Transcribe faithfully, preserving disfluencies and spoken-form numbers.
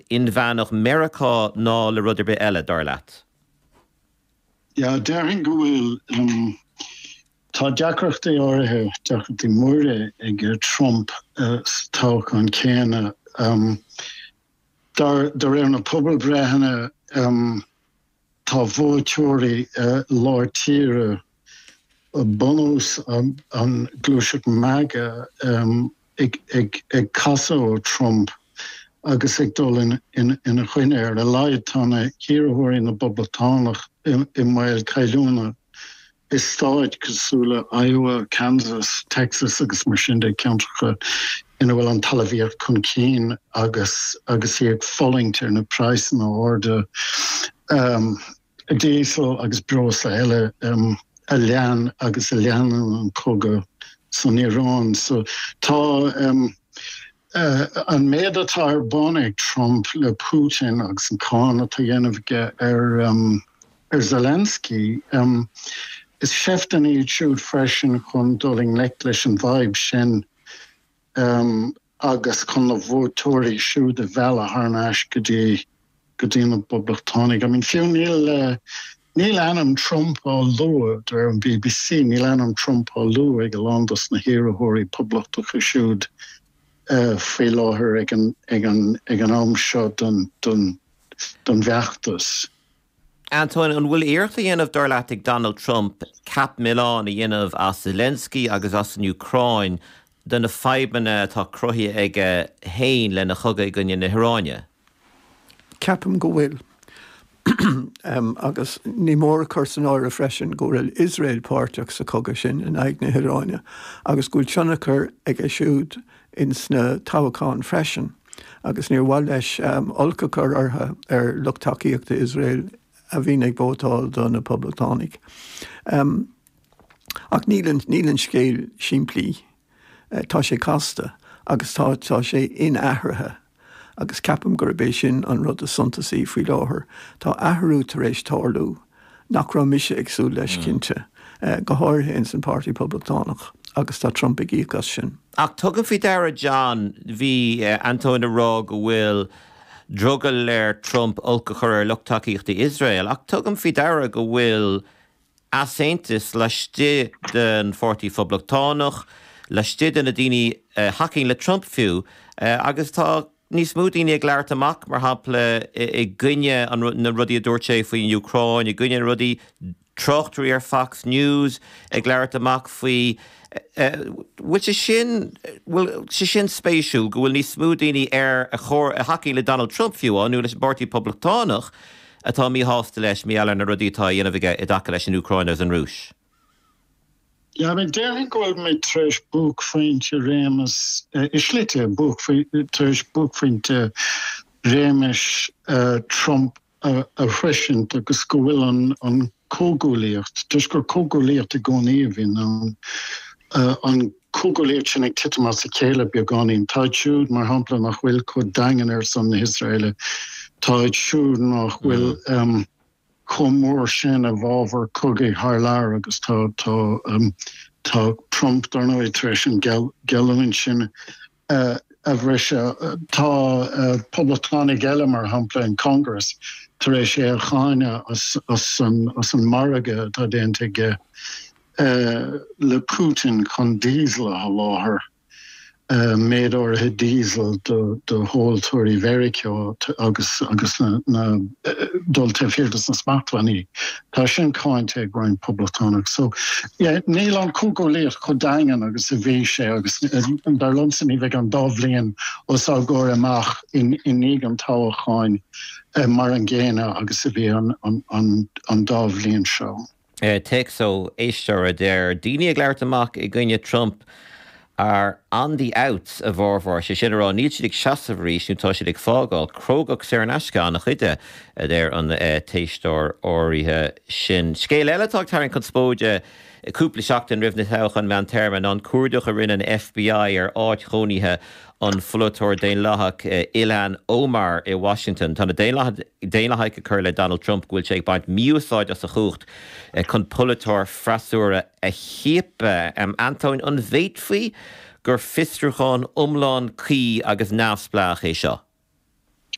inmheánach Meiriceá ná le rud ar bith eile dar leat. Ja déarfainn go bhfuil um, tá deacrachtaí áirithe deacrachtaí móra ag Trump uh, toghchán céanna um, dar de réir na pobalbhreitheanna um, tá vótóirí uh, lár tíre bunús an, an gluaiseacht MAGA um, ag, ag, ag casadh ó Trump agus ag dul in, in, ina choinne ar a laghad tá na hiarrthóirí na bPoblachtánach i, i mbaol cailliúna i stáit cosúil le Iowa, Kansas, Texas agus mar sin de ceantracha ina bhfuil an talmhaíocht chun cinn agus agus í ag fulaingt ar na praghsanna arda um, diesel agus breosla eile um, a lean agus a leanann an cogadh san Iaráin. So tá um, uh, an méid atá ar bun ag Trump le Putin agus an cáineadh atá á dhéanamh aige ar um, ar Zelensky. Um, is seifteanna iad siúd freisin chun dul i ngleic leis an bhfadhb sin um, agus chun na vótóirí siúd a mhealladh thar n-ais go dtí go dtí na Poblachtánaigh. I mean fiú níl uh, níl ainm Trump á lua ar an BBC, níl ainm Trump á lua ag a lán dos na hiarrthóirí poblachtacha siúd uh, faoi láthair ag an, ag an, ag an am seo don, don, don bhfeachtas. Antoine an bhfuil iarracht á dhéanamh dar leat ag Donald Trump ceap milleáin a dhéanamh as Zelensky agus as an Úcráin de na fadhbanna atá cruthaithe aige féin lena chogadh i gcoinne na hIaráine. Ceapaim go bhfuil. um, agus ní mór cur san áireamh freisin go bhfuil Iosrael páirteach sa chogadh sin in aghaidh na hIaráine, agus go bhfuil tionchar aige siúd in sna toghcháin freisin. agus níor mhaith leis um, olc a chur orthu ar lucht tacaíochta Iosrael a bhíonn ag vótáil do na Poblachtánaigh. Um, ach níl níl an scéal simplí uh, tá sé casta agus tá tá sé inathraithe. agus ceapaim gurb é sin an rud is suntasaí faoi láthair. Tá athrú tar éis tarlú nach raibh mise ag súil leis mm. cinnte, uh, go háirithe in san Páirtí Poblachtánach agus tá Trump ag íoc as sin. Ach tugaim faoi deara John bhí uh, Antoine ag rá go bhfuil drogall ar Trump olc a chur ar lucht tacaíochta Iosrael, ach tugaim faoi deara go bhfuil easaontas laistigh den Pháirtí Poblachtánach, laistigh de na daoine uh, thacaíonn le Trump fiú, uh, agus tá níos mó daoine ag labhairt amach mar shampla i gcoinne na rudaí a dúirt sé faoin Úcráin, i gcoinne rudaí tráchtairí ar Fox News ag labhairt amach faoi bhfuil sé sin bhfuil sé sin spéisiúil go bhfuil níos mó daoine ar a chóir a thacaíonn le Donald Trump fiú nó leis an bPáirtí Poblachtánach atá míshásta leis mar gheall ar na rudaí atá á dhéanamh aige i dtaca leis an Úcráin agus an Rúis. Ja, men déarfainn go bhfuil mé tar éis buaicphointe réimeas i slí tar éis buaicphointe réimeas Trump a shroisint agus go bhfuil an an comhghuaillíocht, Tuis gur comhghuaillíocht i gcónaí a bhíonn ann an comhghuaillíocht sin ag titim as a chéile beagáinín. Tá siúd mar shampla nach bhfuil chomh daingean ar son na hIosraeile Tá siúd nach bhfuil um, chomh mór sin i bhfabhar cogaidh thar lear agus tá tá um, tá Trump dar ndóigh tar éis an geallúint sin uh, a bhriseadh tá uh, poblachtánaigh eile mar shampla in Congress tar éis é a cháineadh as, as, an, as an margadh atá déanta aige uh, le Putin chun diesel a sholáthar. Uh, méid áirithe diesel do do thomhaltóirí Mheiriceá agus agus na, na uh, dul taobh thiar na smachtbhannaí. Tá sin cáinte ag roinnt poblachtánach. So yeah, níl an comhghuaillíocht chomh daingean agus a bhí sé agus dar liomsa ní bheidh an dá bhliain os ár gcomhair amach in i ndiaidh an toghcháin uh, mar an gcéanna agus a bhí an, an, an, an dá bhliain seo. Uh, Téacs ó éisteoir a deir daoine ag labhairt amach i gcoinne Trump are on the outs a bhformhór sé sin rá níl siad ag seasamh arís nó tá siad ag fágáil crógacht saor in aisce an-chuid a deir an uh, t-éisteoir áirithe sin. Scéal eile atá ag tarraingt conspóide cúpla seachtain roimh na toghcháin meántéarma an cuardach a rinne an FBI ar áit chónaithe an pholaiteora Daonlathach Ilhan Omar i Washington. Tá na Daonlathaigh ag cur le Donald Trump go bhfuil sé ag baint mí-úsáid as a chumhacht chun polaiteoir freasúra a chiapadh. Um, Antoine an bhféadfaí gur fiosrúchán iomlán cuí agus neamhspleách é seo.